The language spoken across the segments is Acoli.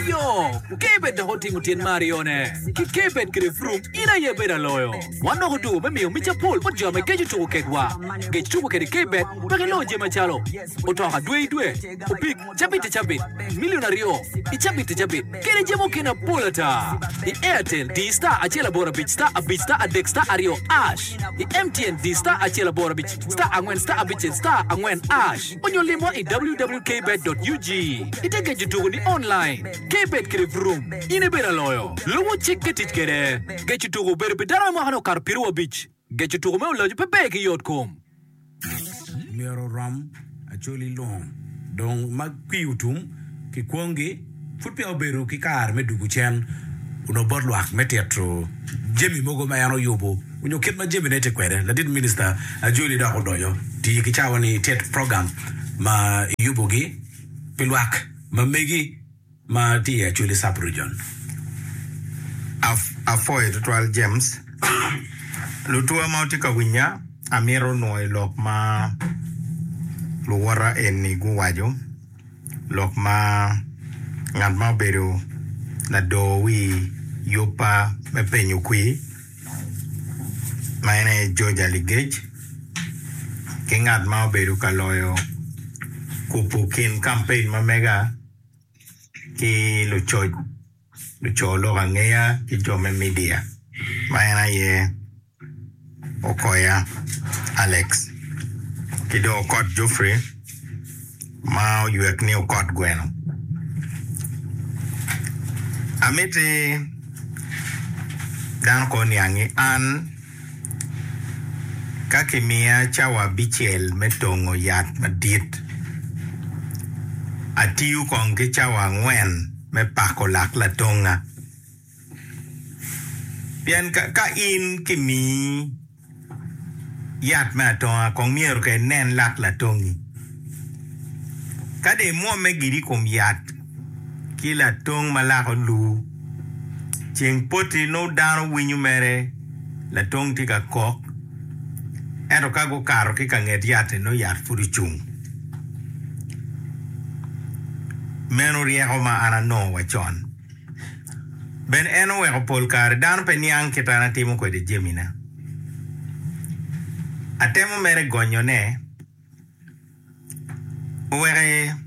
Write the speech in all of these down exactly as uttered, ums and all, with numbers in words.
Ayo, Kbet dok otimo tyen me aryone. Ki Kbet kede Vroom, in aye bedo aloyo. Wan dok odugo me miyo mic apol bot jo ame geco tuko kedwa. Gec tuko kede Kbet wek ilo jami macalo otoka dwe i dwe, opik cabit i cabit, milion aryo i cabit i cabit, kede jami okene apol ata. I Airtel di star acel aboro abic star abic star adek star aryo hash. I M T N di star acel aboro abic star angwen star abicel star angwen hash. Onyo limwa i w w w kbet dot u g. Ite geco tuko ni online. Kbet kede Vroom. In ibedo aloyo. Lubo cik ke tic kede. Geco tuko obedo pi dano me mwaka ni okato piero abic. Geco tuko me oloco pe ber ki yot kom. Myero rom Acholi lung dong ma kwi otum ki kwongi pud peya obedo ki kare me dugo cen onongo bot lwak me tito jami mogo ma en oyubo onyo kit ma jamine tye kwede. Ladit minista Acholi dok odonyo tiyo ki cawa ni tit program ma iyubogi pi lwak ma megi ma tye i Acholi sub region. Af- afoyo tutwal James lutua ma tye ka winya. Amito nwoyo lok ma luwota eni guwaco, lok ma ngat ma obedo lador wi yubba me penyo kwir ma en aye George Aligec ki ngat ma obedo ka loyo kubo kin campaign ma mega ki lucoc luco lok angeya ki jo me media ma en aye Okoya Alex ki dong Okot Geoffrey ma oywek ni Okot Gweno. Amiti dano ko niang ni an ka kimiya cawa abicel me tongo yat madit, atiyo kong ki cawa angwen me pako lak latonga. Pien ka, ka in kimiyi yat me atonga, kong myero ka inen lak latongi. Ka dong imwomme gidi i kom yat ki latong ma lako lu, ceng poti nongo dano winyo mere latong tye ka kok, ento ka gukato ki ka nget yat-ti nongo yat pud ocung. Meno ryeko ma an anongo wa con. Bene en oweko pol kare dano pe niang kit an atimo kwede jamina. Atemo mere gonyone oweko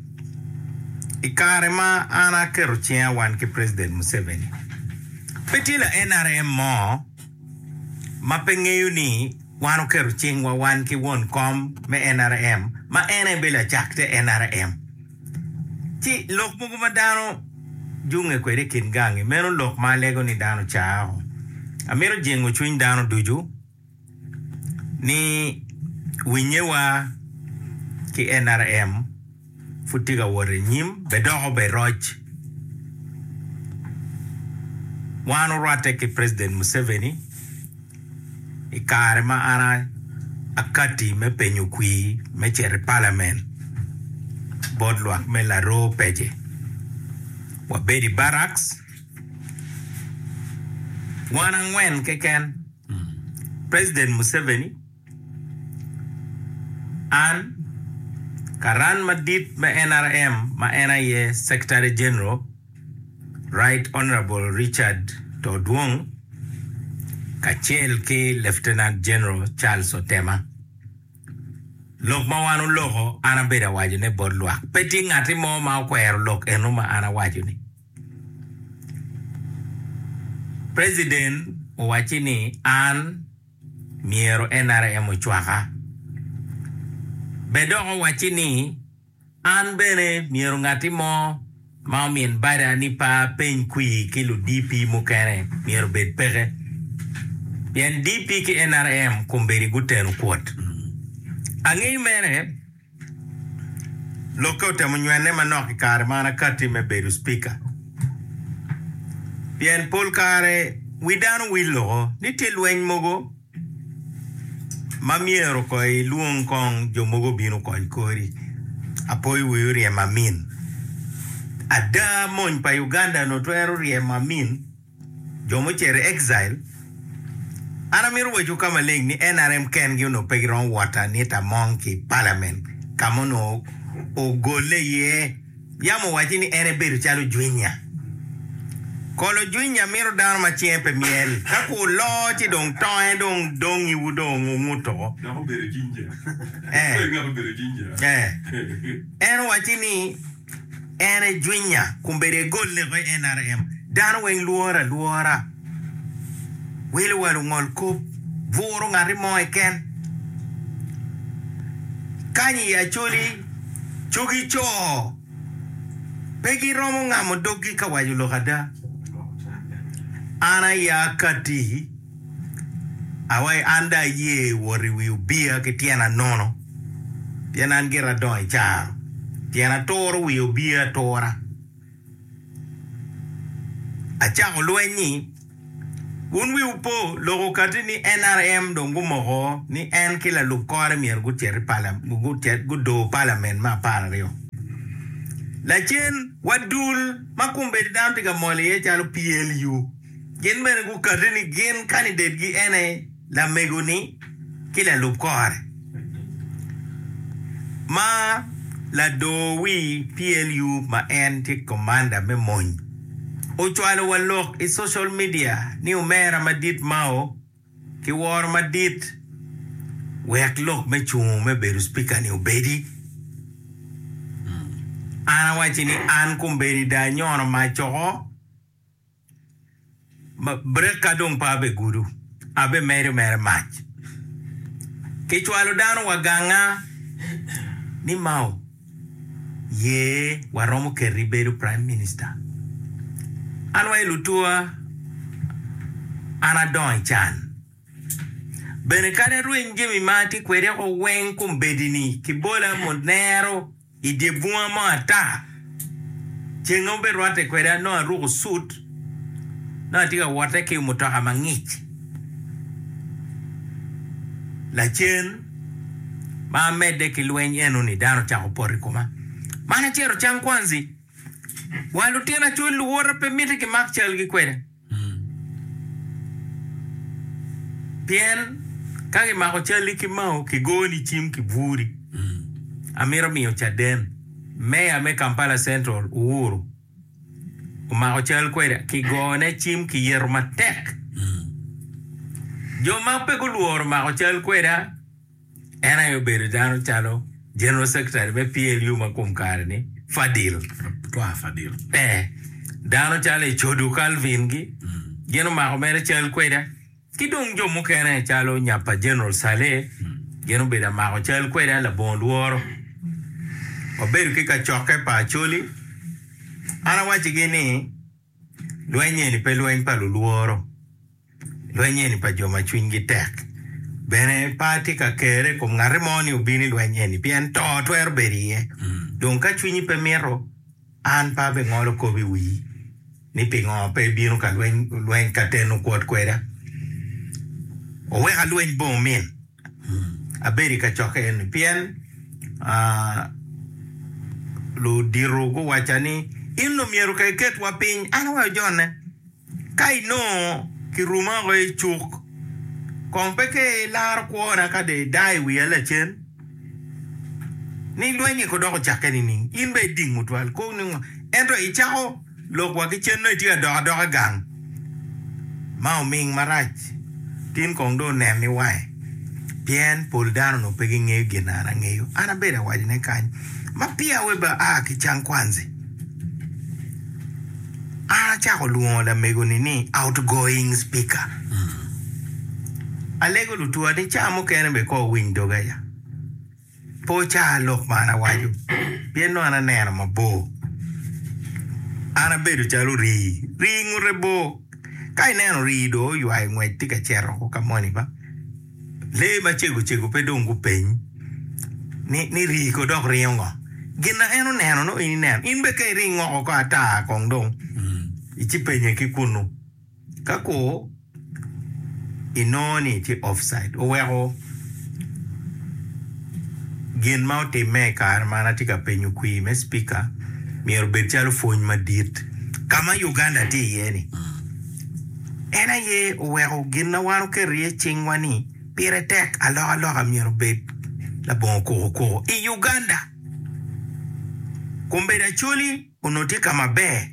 i kare ma an aketo cinga wan ki President Museveni, pe tye la N R M mo ma pe ngeyo ni wan oketo cingwa wan ki won kom me N R M ma en aye bedo lacak te N R M. Ci lok mogo ma dano junge kwede i kin gangi meno lok ma alego ni dano cao. Amito jengo cwiny dano ducu ni winyewa ki N R M pud tye ka wot i nyim be doko be roc. Wan orwatte ki President Museveni i kare ma an akati me penyo kwir me cito i parliament bot lwak me Laro Pece. Wabedo i barracks wan angwen keken, President Museveni, an, karan madit me N R M ma en aye Secretary General Right Honorable Richard Todwong kacel ki Lieutenant General Charles Otema. Lok ma wan oloko an abedo awacone bot lwak. Pe tye ngati mo ma okwero lok eno ma an awaco-ni. President owacci ni an myero N R M ocwaka. Be dok owacci ni an bene myero ngati mo ma omin bada ni pa peny kwir ki lu D P mukene myero bed peke. Pien D P ki N R M kombeddi guteno kwot. Angeyo mere lokke otemo nywene manok i kare ma an akati me bedo speaker. Pien pol kare wi dano wil loko ni tye lweny mogo ma myero ko ilwong kong jo mogo obino kony kori. Apoyo wi oryemo Amin. Ada mony pa Uganda no twero ryemo Amin jo mucito i exile. An amito waco ka maleng ni N R M kengi onongo pe giromo wot Anita Among ki i parliament ka ma onongo ogolle iye. Yam owaci ni en ebedo calo jwinya. Kolo jwinya mito dano ma cinge pe myel. Ka ku loo ci dong tonge dong dong iwu dong unguto. Dok obedo ginger. Eh. Ngat obedo ginger. Eh. En owaci ni en ejwinya kun bedo egol leko i N R M. Dano weng lworo alwora. Welo wa lungol kop buro ngati mo keken. Kany i Acholi cogi co pe giromo ngamo doggi ka waco lok ada. An aya kati awai an da aye wot i wi obia ki tyena nono pien an gira adongo i caro pien aturo wi obia atura. Acako lweny-nyi wun wiwu po lok okati ni N R M dong gumoko ni en ki lalub kore myero gucit i pala- gucit gudo parliament me apar aryo. Lacen wa dul ma kombeddi dano tye ka mol iye calo P L U gin bene gukati ni gin candidate gi ene lamego-ni ki lalub kore ma lador wi P L U ma en tye commander me mony ocwalo wa lok i social media ni omera madit Mao ki woro madit wek lok me cungo me bedo speaker ni obedi. An awaci ni an kombeddi da anyono mac oko ma breka dong pe abe gudo abe medo mere mac kicwalo dano wa ganga ni Mao ye waromo keti bedo prime minister. An wa i lutua an adongo i can bene kadi arweny jami ma atye kwede o weng kombeddi-ni kibola munero i dye bunga mo ata ceng ma oberwatte kweda nongo aruko suit nongo atye ka wotte ki mutoka mangic lacen ma amedde ki lweny eno-ni dano ocako poto i koma man acito Kyankwanzi wa lutino Acholi luwota pe miti kimak calgi kwede pien ka kimako calli ki Mao kigoni cim kiburi. Amito miyo caden meya me Kampala Central Uhuru omako cal kwede kigone cim kiyeto matek. Jo ma pe gulworo mako cal kweda en aye obedo dano calo General Secretary me P L U ma kom kare ni Fadil. Twa Fadil. Eh, dano calo Ecodu Calvin gi gin omako mere cal kweda ki dong jo mukene calo nyapa General Saleh gin obedo amako cal kweda labongo lworo. Wabedo ki kacokke pa Acholi an awacigi ni lweny eni pe lweny pa lulworo lweny eni pa jo ma cwinygi tek bene pe atye ka kere i kom ngati mo ni obin i lweny eni pien to twero bedo iye dong ka cwinyi pe mito an pe abingolo kop i wii ni pingo pe ibino ka lweny lweny ka teno kwot kweda oweka lweny bongo min abedo i kacokke eni pien ah, ludito guwaca ni in omyero ka iketwa piny an awaco jone ka inongo kiruma oko i cuk kong pe ke ilaro kwona ka dong ida i wiya lacen ni lweny ko dok ocakke nining in be idingo twal ko ni ngo ento icako lok wa ki cen nongo itye ka dok adoka gang ma oming marac tin kong dong onen ni wange pien pol dano onongo pe gingeyo gin na an angeyo an abedo awacone kany ma peya we ba aa ki Kyankwanzi an acako lwongo lamego-ni ni outgoing speaker alego lutua ni ca mukene be ko owiny doga ya pe oca lok ma an awaco pien nongo an aneno mabor an abedo calo rii rii ngute bor ka ineno rii dong oywayo ngwec tye ka cito ka moni ba lee macego cego pe dong gupeny ni, ni rii ko dok ringo ngo gin na en oneno no in ineno in be ka iring oko ko ata kong dong ici penye ki kunu ka ko inongo ni tye offside oweko gin ma otimme i kare ma an atye ka penyo kwir me speaker myero obed calo pwony madit ka ma Uganda tye iye ni en aye oweko gin na wan oketo iye cingwa ni pire tek alokaloka myero obed labongo kukukuku i Uganda kombeddi Acholi onongo tye ka maber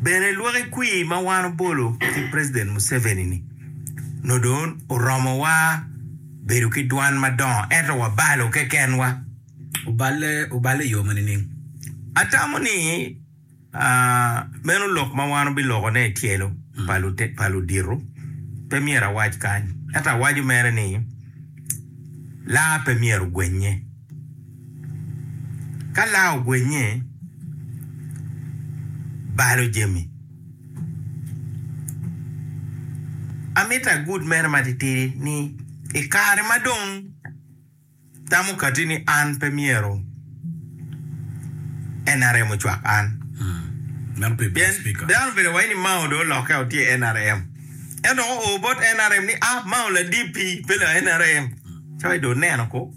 Bene lwaki kwir ma wan obolo ki President Museveni ni nongo dong oromowa bedo ki dwan madongo ento wabalo kekenwa. Oballe oballe i yo ma nining? Atamo ni meno lok ma wan obilokone i tyelo pa ludito pe myero awac kany ento awaco mere ni laa pe myero ogwenye. Ka laa ogwenye balo jami. Amito agud mere matitidi ni i kare ma dong tamo kati ni an pe myero N R M ocwak an. Meno pi Pien speaker. dano obedo waci ni Mao dong olokke o tye N R M. Ento oo bot N R M ni ah Mao la D P pe la N R M. Cawa dong oneno ko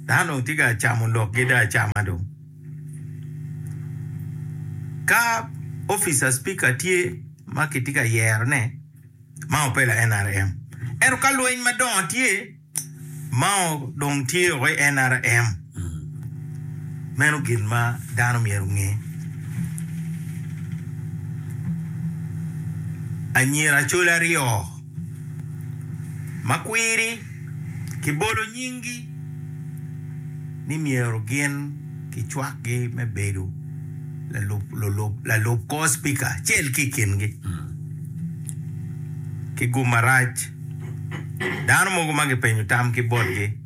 dano dong tye ka camo lokgi dong acama dong. Ka officer speaker tye ma kitye ka yerone Mao pe la N R M. Ento ka lweny madongo tye Mao dong tye oko i N R M. Meno gin ma dano myero onge. Anyira Acholi aryo ma kwiri kibolo nyinggi ni myero gin kicwakgi me bedo lalub kor cipika acel ki i kingi ki gum marac. Dano mogo ma gipenyo tam ki botgi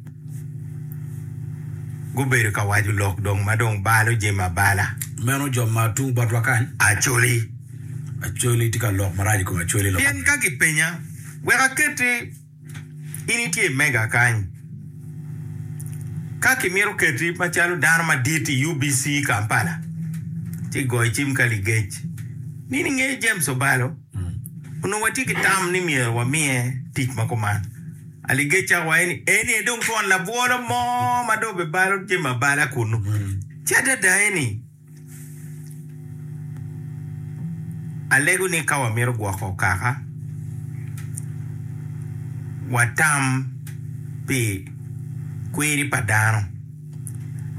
gubedo ka waco lok dong ma dong balo jami abala. Meno jo ma tung botwa kany? Acholi. Acholi tye ka lok marac i kom Acholi lok. Pien ka gipenya, wek aketi in itye i mega kany. Ka kimito keti macalo dano madit i U B C Kampala, ci goyo cim ka ligec ni ningeyo James Obalo, onongo watye ki tam ni myero wamiye tic ma kuman. Aligec cako waco ni eni aye dong twon labwolo mo ma dong obibalo jami abala kunnu. Ci adada eni alego ni ka wamito gwoko kaka, watam pi kwiri pa dano.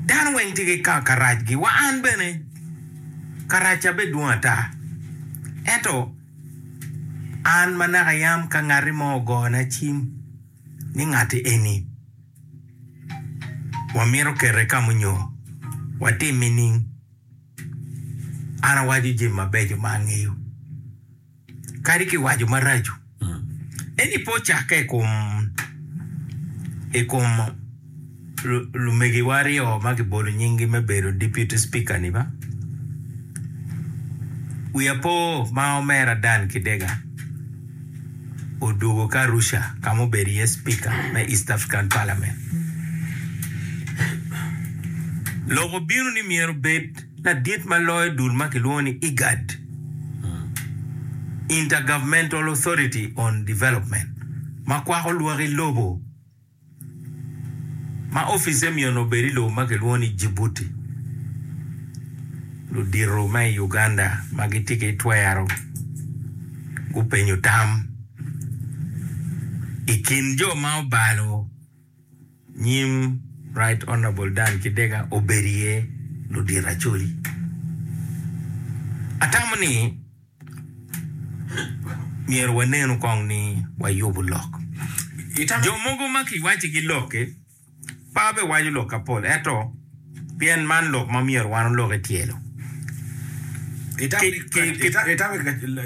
Dano weng tye ki karacgi, wa an bene karacca bene dwong ata. Ento an ma naka yam ka ngati mo ogona cim ni ngati eni wamito kete ka munyo watim nining? An awaco jami mabeco ma angeyo, kadi kiwaco maraco. Eni pe ocakke i kom i kom lumegiwa aryo ma kibolo nyinggi me bedo deputy speaker ni ba. Wiya po ma omera Dan Kidega odwogo ki Arusha ka ma obedo iye speaker me East African Parliament. Lok obino ni myero obed ladit ma loyo dul ma kilwongo ni IGAD, Intergovernmental Authority on Development, ma kwako lwaki lobo ma opice myero obed i lobo ma kilwongo ni Djibouti. Ludito ma i Uganda ma gitye ki twero gupenyo tam i kin jo ma obalo nyim Right Honorable Dan Kidega obedo iye ludito Acholi. Atamo ni myero wanenu kong ni wayubo lok. Jo mogo ma kiwacigi lok-ki pe abiwaco lok kapol, ento pien man lok ma myero wan olok i tyelo. Itamo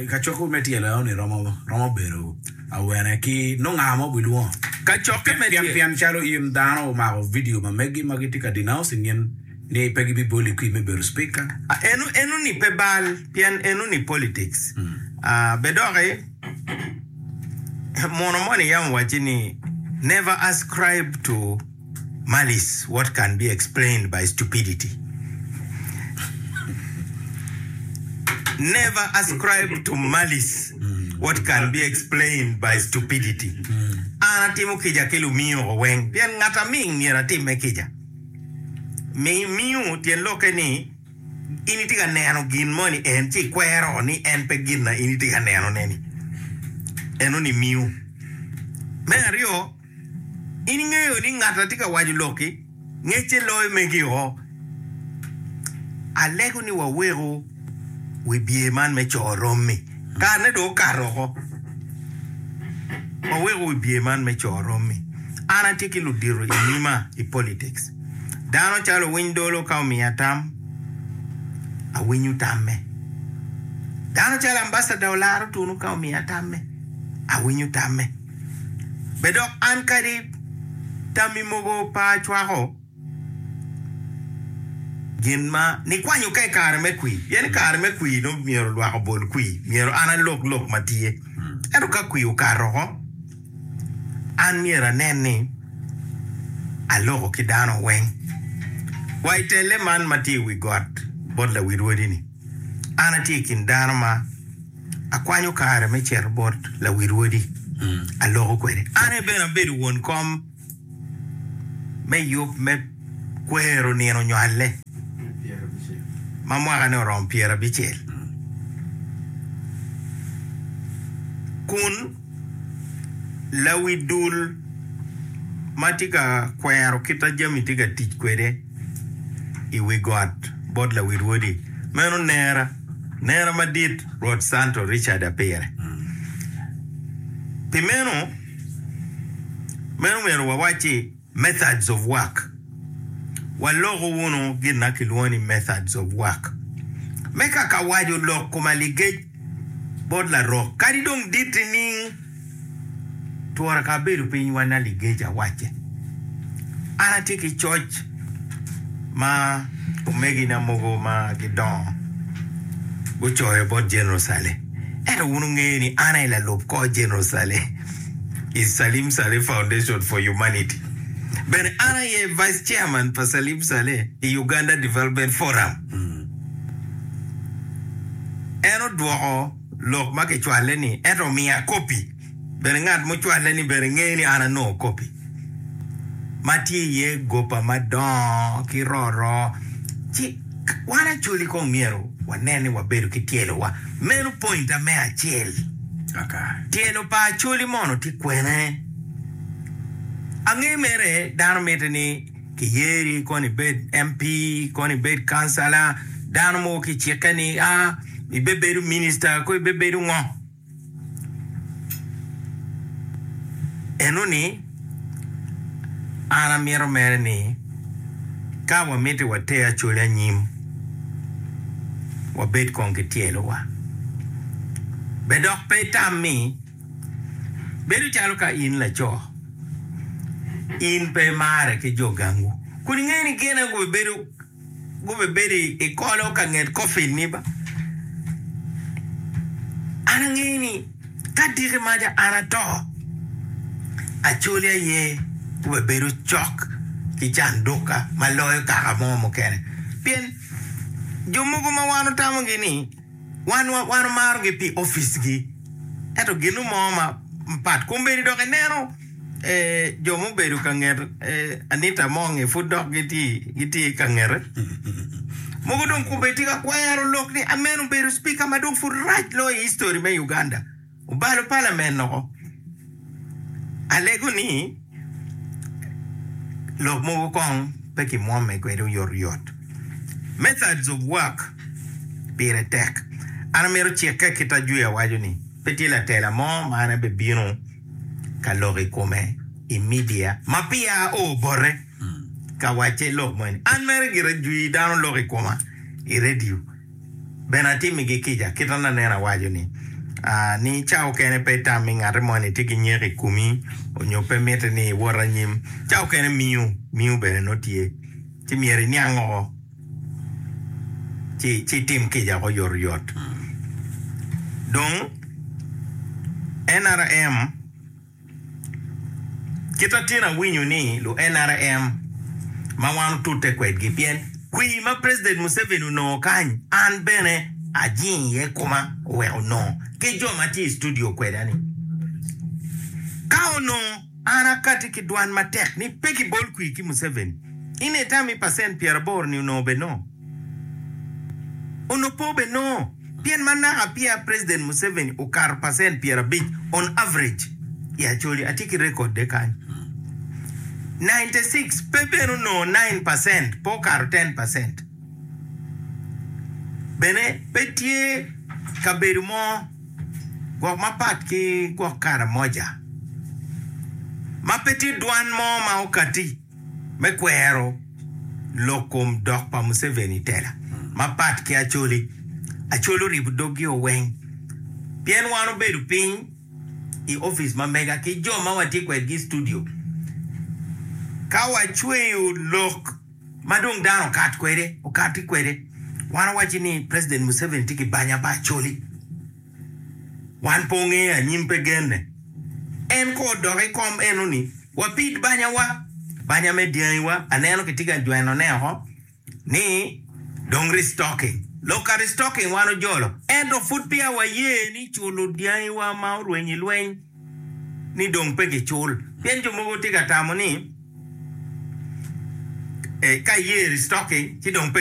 kacokke me tyelo eno ni romo bedo awene ki nongo nga ma obilwongo? Kacokke me tyelo. Pien calo in dano omako video ma megi ma gitye ka denouncing in ni pe gibiboli kwi me bedo speaker. Eno ni pe bal pien eno ni politics. Be doki muno moni yam owacci ni never ascribe to malice what can be explained by stupidity. Never ascribe to malice what can be explained by stupidity. An atimo kica ki lumiyo weng pien ngat aming myero atimme kica. Miyo tyen lokke ni in itye ka neno gin moni en ci ikwero ni en pe gin na in itye ka nenone-ni. Eno ni miyo. Me aryo, in ingeyo ni ngat a tye ka waco lok-ki ngecce loyo megi o. Alego ni waweku Wibye man me co rommi. Karene dong okato oko. Waweko wibye man me co rommi. An atye ki ludito i nyima i politics. Dano calo Owiny Dolo ka omiya tam, awinyo tamme. Dano calo Ambassador Olara Otunu ka omiya tamme, awinyo tamme. Be dok an kadi tammi mogo pe acwako gin ma nikwanyo ka i kare me kwir, pien i kare me kwir nongo myero lwak obol kwir, myero an alok lok ma tye. Ento ka kwir okato oko, an myero anen ni aloko ki dano weng. Wa i telle man ma tye i wi got bot lawi rwodi-ni, an atye i kin dano ma akwanyo kare me cito bot lawi rwodi aloko kwede. An aye bene abedo won kom me yub me kwero nino nywale ma mwakane oromo pyerabicel kun lawi dul ma tye ka kwero kit ma jami tye ka tic kwede i wi got bot lawi rwodi meno nera, nera madit Rwot Santo Richard Apire. Pi meno, meno myero wawacci methods of work. Waloko wunu gin ma kilwongo ni methods of work. Me kaka waco lok kom aligec bot larok, kadi dong dit nining, twora ka abedo piny wan aligec awacce. An atye ki coc ma omegina mogo ma gidongo gucoyo bot General Saleh. Ento wun wungeyo ni an aye lalub kor General Saleh i Salim Saleh Foundation for Humanity. Bene an aye Vice Chairman pa Salim Saleh i Uganda Development Forum. En odwoko lok ma kicwalle-ni ento omiya kopi. Bene ngat mucwalle ni bene ngeyo ni an anongo kopi ma tye iye gopa madongo ki roro. Ci wan Acholi kong myero wanen ni wabedo ki tyelowa. Meno pointa me acel. Tyelo pa Acholi mono tye kwene? Ange mere dano mitte ni kiyeri kono ibed M P, kono ibed kancala, dano mogo kicikke ni a ibebedo minista ko ibebedo ngo. Enoni an amito mere ni ka wamiti water Acholi anyim, wabed kong ki tyelowa. Be dok pe itam ni bedo calo ka in laco, in pe imare ki jo gangwu, kun ingeyo ni gin aye gubedo gubebedo i kolo ka nget coffin-ni ba. An angeyo ni ka diki maca an ato, Acholi aye gubebedo cok ki candukka ma loyo kaka mo mukene. Pien jo mogo ma wan otamogi ni wan wan omarogi pi oficgi, ento gin mo ma pat. Kombeddi dok ineno jo mubedo ka nget Anita Among-ngi pud dok gitye ka ngete. Mogo dong kombeddi tye ka kwero lok ni meno obedo cipika ma dong pud rac loyo i history me Uganda. Obalo palament oko. Alego ni lok mogo kong pe kimwomme kwede oyotoyot. Methods of work pire tek. An amito cikke kit ajwi awaco ni pe tye latela mo ma an abibino ka lok i kome i media ma peya ao bote ka wacce lok moni. An mere gira jwi dano lok i koma i radio. Bene atimigi kica kit ma aneno awaco ni, ni ca okene pe itam ni ngati moni tye ki nyeko i komi onyo pe mitte ni iwot anyim. Ca okene miyo, miyo bene nongo tye. Ci myero iniang oko ci ci itim kica oko oyotoyot. Dong N R M Kit atin awinyo ni lu N R M ma wan otute kwedgi pien kwir ma President Museveni onongo kany an bene ajingo iye koma oweko onongo ki jo ma tye i studio kweda ni ka onongo an akati ki dwan matek ni pe kibol kwir ki Museveni in itami percent pyeraboro ni onongo bed nongo onongo pe obed nongo. Pien ma naka peya President Museveni okato percent pyerabic on average i Acholi, atye ki record de kany, ninety six pe bene onongo nine percent, pe okato ten percent. Bene pe tye kabedo mo gwok mapat ki gwok Karamoja ma pe tye dwan mo ma okati me kwero lok kom dok pa Museveni i tela mapat ki Acholi. Acholi oribo doggi-o weng pien wan obedo piny i opic ma mega ki jo ma watye kwedgi i studio ka wacweyo lok ma dong dano okat kwede, okati kwede. Wan owaci ni President Museveni tye ki banya pa Acholi. Wan pe ongeyo anyim pe genne. En ka odok i kom eno ni wapid banyawa, banya me dyangiwa, aneno kitye ka jwenone oko ni dong restocking. Lok ka restocking wan ojolo, ento pud peya waye ni culo dyangiwa ma orweny i lweny ni dong pe kicul. Pien jo mogo tye ka tamo ni ka iye restocking ci dong pe